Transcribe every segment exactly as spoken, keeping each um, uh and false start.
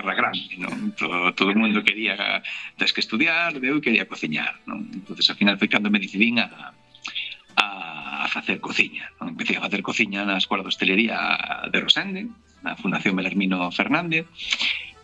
guerra grande, non? Todo, todo o mundo quería, tens que estudiar, eu quería cociñar, non? Entonces, ao final foi cando me decidín a, a, a facer cociña, non? Empecé a facer cociña na Escola de Hostelería de Rosende, na Fundación Belarmino Fernández,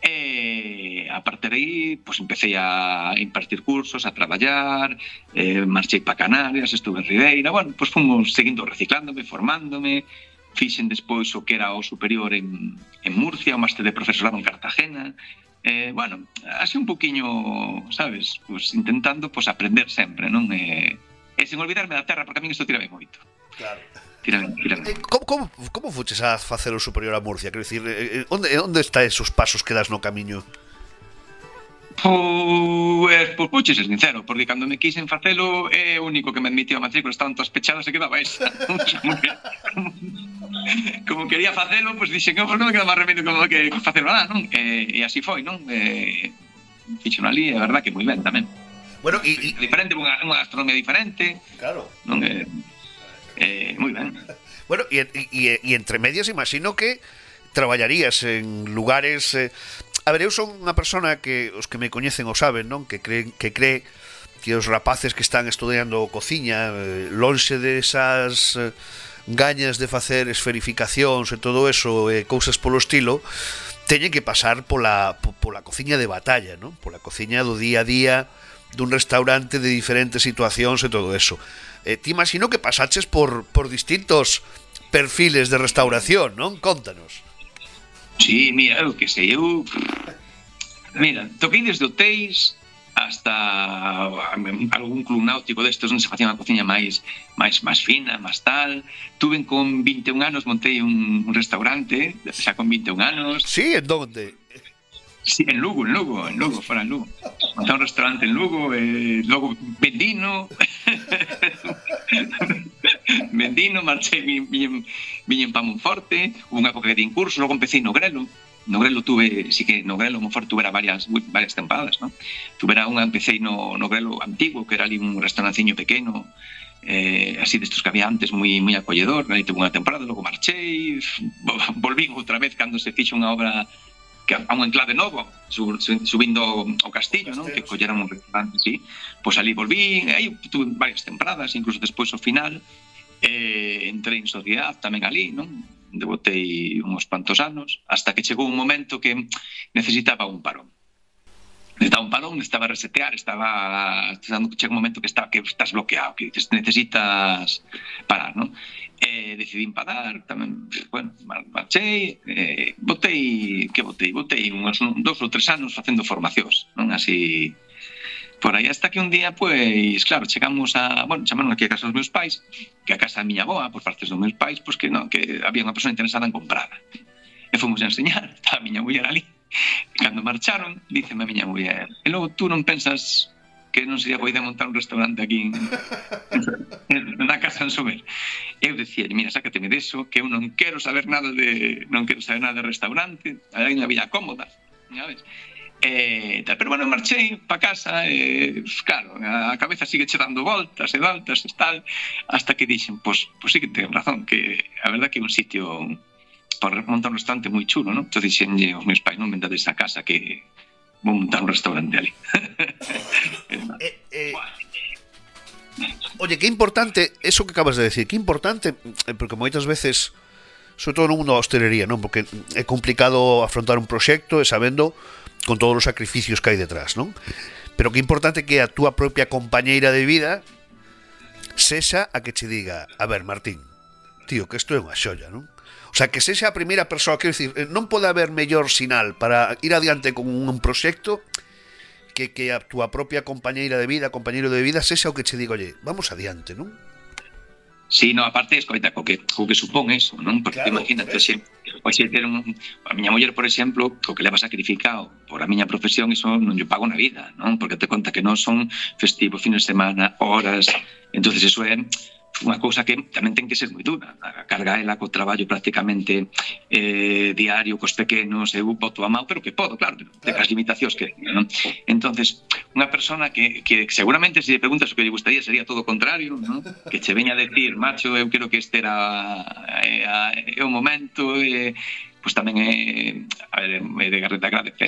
e a partir de aí pues, empecé a impartir cursos, a traballar, eh, marchei para Canarias, estuve en Ribeira, bueno, pues fomos seguindo reciclándome, formándome, fixen despois o que era o superior en, en Murcia, o máster de profesorado en Cartagena, eh, bueno, así un poquinho, sabes, pues intentando pues, aprender sempre, non? E, e sen olvidarme da terra, porque a min isto tírame moito. Claro. Tírame, tírame. Eh, como, como, como fuches a facer o superior a Murcia? Quero dicir, eh, onde, onde está esos pasos que das no camiño? Pois, pois puche ser sincero, porque cando me quixen facelo é o único que me admitió a matrícula, estaban todas pechadas e quedaba esa. como, que, como, como quería facelo, pois dixen que non me queda máis remedio como que facelo nada, non? E, e así foi, non? E, fixo ali, é verdad que moi ben tamén. Bueno, e... diferente, unha, unha gastronomía diferente. Claro. Non é... Eh, moi ben. Bueno, e, e, e entre medias imagino que traballarías en lugares... Eh... A ver, eu son unha persona que os que me coñecen o saben, non? Que creen, que cree que os rapaces que están estudiando cociña, eh, lonxe desas eh, gañas de facer esferificacións e todo eso, e eh, cousas polo estilo, teñen que pasar pola, pola cociña de batalla, non? Pola cociña do día a día dun restaurante de diferentes situacións e todo eso. Eh, te imagino que pasaches por, por distintos perfiles de restauración, non? Contanos. Sí, mira, eu que sei, eu... Mira, toquei desde hotéis hasta algún club náutico destes onde se facía unha cociña máis máis máis fina, máis tal. Tuve con vinte e un anos, montei un, un restaurante, xa con vinte e un anos. Sí, en donde? Sí, en Lugo, en Lugo, en Lugo, fora en Lugo. Montei un restaurante en Lugo, eh, logo vendino. vendino, marchei, viñen, viñen pa Monforte, hubo unha época que din curso, logo empecé no Grelo. No Grelo tuve, sí que no Grelo, Monforte tuvera varias, varias tempadas, ¿no? Tuvera unha, empecé no, no Grelo antigo, que era ali un restauranciño pequeno, eh, así destos que había antes, moi, moi acolledor, ali tuve unha temporada, logo marchei, volvín outra vez cando se fixo unha obra que a un enclave novo, sub, subindo ao castillo, non? Que colleran un restaurante, sí. Pois ali volví, aí tuve varias temporadas, incluso despois ao final, eh, entrei en sociedade tamén ali, non? Debotei uns cuantos anos, hasta que chegou un momento que necesitaba un parón. Necesitaba un parón, necesitaba resetear, estaba... Chega un momento que, está, que estás bloqueado, que necesitas parar, non? Eh, decidín parar, tamén, bueno, marchei, eh, botei, que botei? Botei uns dos ou tres anos facendo formacións, non? Así, por aí, hasta que un día, pois, claro, chegamos a, bueno, chamaron aquí a casa dos meus pais, que a casa da miña aboa, por partes dos meus pais, pois que non, que había unha persona interesada en comprarla. E fomos a enseñar, estaba a miña muller ali. E cando marcharon, díceme a miña muller, e logo tú non pensas que non sería boa idea montar un restaurante aquí en, na casa en Sober. Eu decía, mira, sácateme deso, que eu non quero saber nada de non quero saber nada de restaurante, hai unha vida cómoda, sabes? Eh, tal, pero bueno, marchei pa casa, e, claro, a cabeza sigue che dando voltas e voltas e tal, hasta que dixen, pois, pois sí que ten razón, que a verdad que é un sitio para montar un restaurante moi chulo, non? Entón dixenlle aos meus pais, non vendades a casa, que vou montar un restaurante ali. eh, eh, oye, que importante eso que acabas de decir, que importante, porque moitas veces, sobre todo no mundo da hostelería, non? Porque é complicado afrontar un proxecto e sabendo con todos os sacrificios que hai detrás, non? Pero que importante que a túa propia compañeira de vida sexa a que che diga, a ver, Martín, tío, que isto é unha xolla, non? O sea, que sexa a primeira persoa, quero dicir, non pode haber mellor sinal para ir adiante con un proxecto que, que a túa propia compañeira de vida, compañeiro de vida, sexa o que che diga, oye, vamos adiante, non? Sí, no, aparte, escoita, co que, co que supón eso, non? Porque claro, imagínate, xe, xe ter un, a miña muller, por exemplo, o que leva sacrificado por a miña profesión, iso non lle pago na vida, non? Porque te conta que non son festivos, fines de semana, horas, entonces eso é unha cousa que tamén ten que ser moi dura. A carga ela co traballo prácticamente eh, diario, cos pequenos, eu boto a mão, pero que podo, claro, de as limitacións que non? Entonces, unha persona que, que seguramente se lle preguntas o que lle gustaría sería todo o contrario, non? Que che veña a decir, macho, eu quero que este era é o momento, e, pois tamén é, a ver, é de agradecer.